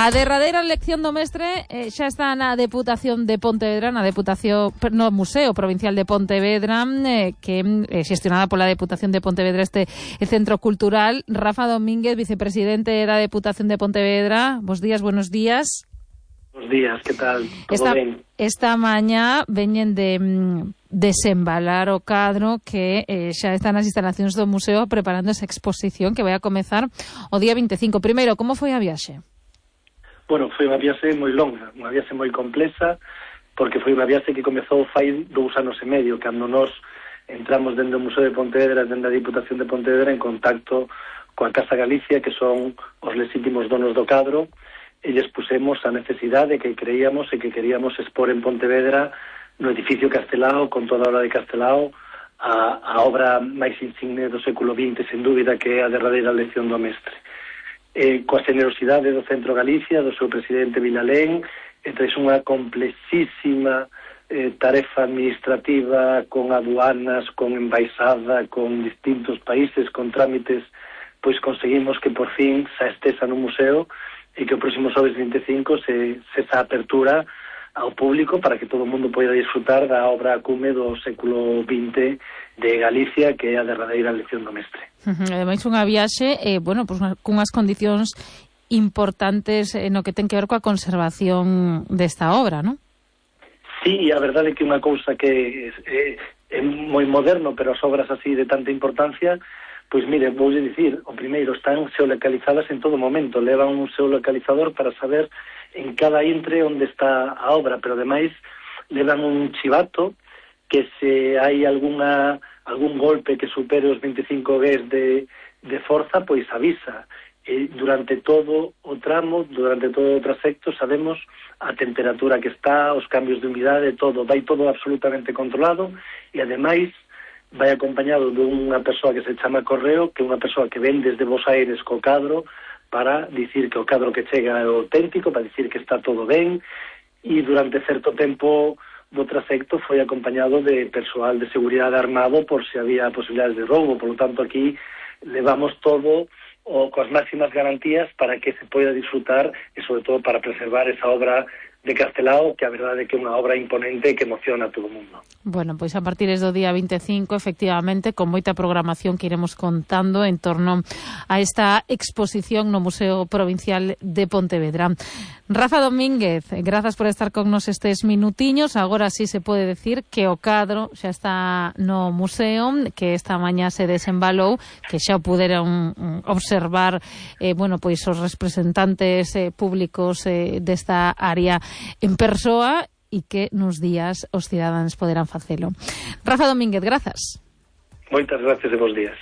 A derradeira elección do mestre xa está na Deputación de Pontevedra, no Museo Provincial de Pontevedra, que xestionada pola Deputación de Pontevedra este centro cultural. Rafa Domínguez, vicepresidente da Deputación de Pontevedra. Buenos días. Buenos días, que tal? Todo ben? Esta mañá veñen de desembalar o cadro que xa están nas instalacións do museo preparando esa exposición que vai a comezar o día 25. Primeiro, como foi a viaxe? Bueno, foi unha viaxe moi longa, unha viaxe moi complexa, porque foi unha viaxe que comezou fai 2 anos e medio, cando nos entramos dentro do Museo de Pontevedra, dentro da Diputación de Pontevedra, en contacto coa Casa Galicia, que son os legítimos donos do cadro, e lles pusemos a necesidade que creíamos e que queríamos expor en Pontevedra, no edificio Castelao, con toda a obra de Castelao, a obra máis insigne do século XX, sen dúbida, que é a derradeira lección do mestre. Coa generosidade do Centro Galicia, do seu presidente Vilalén, tras unha complexísima tarefa administrativa con aduanas, con embaixada, con distintos países, con trámites, pois conseguimos que por fin se estesa no museo e que o próximo xoves 25 se esa apertura ao público para que todo o mundo poida disfrutar da obra cume do século XX de Galicia, que é a derradeira lección do mestre. Ademais, unha viaxe, cunhas condicións importantes no que ten que ver coa conservación desta obra, non? Sí, a verdade é que unha cousa que é moi moderno, pero as obras así de tanta importancia, pois mire, voulle dicir, o primeiro, están xeolocalizadas en todo momento, levan un xeolocalizador para saber en cada intre onde está a obra, pero ademais levan un chivato que se hai algún golpe que supere os 25 Gs de forza, pois avisa. E durante todo o tramo, durante todo o trasecto, sabemos a temperatura que está, os cambios de humidade, todo, vai todo absolutamente controlado, e ademais vai acompañado dunha persoa que se chama Correo, que é unha persoa que ven desde Bos Aires co cadro, para dicir que o cadro que chega é auténtico, para dicir que está todo ben, e durante certo tempo do trasecto foi acompañado de persoal de seguridade armado por se había posibilidades de roubo. Por lo tanto, aquí levamos todo coas máximas garantías para que se poida disfrutar e, sobre todo, para preservar esa obra de Castelao, que a verdade é que é unha obra imponente que emociona a todo o mundo. Bueno, pois a partir do día 25, efectivamente, con moita programación que iremos contando en torno a esta exposición no Museo Provincial de Pontevedra. Rafa Domínguez, grazas por estar con nos estes minutiños. Agora sí se pode decir que o cadro xa está no museo, que esta mañá se desembalou, que xa puderon observar pois os representantes públicos desta área en persoa, e que nos días os cidadáns poderán facelo. Rafa Domínguez, grazas. Moitas gracias e bons días.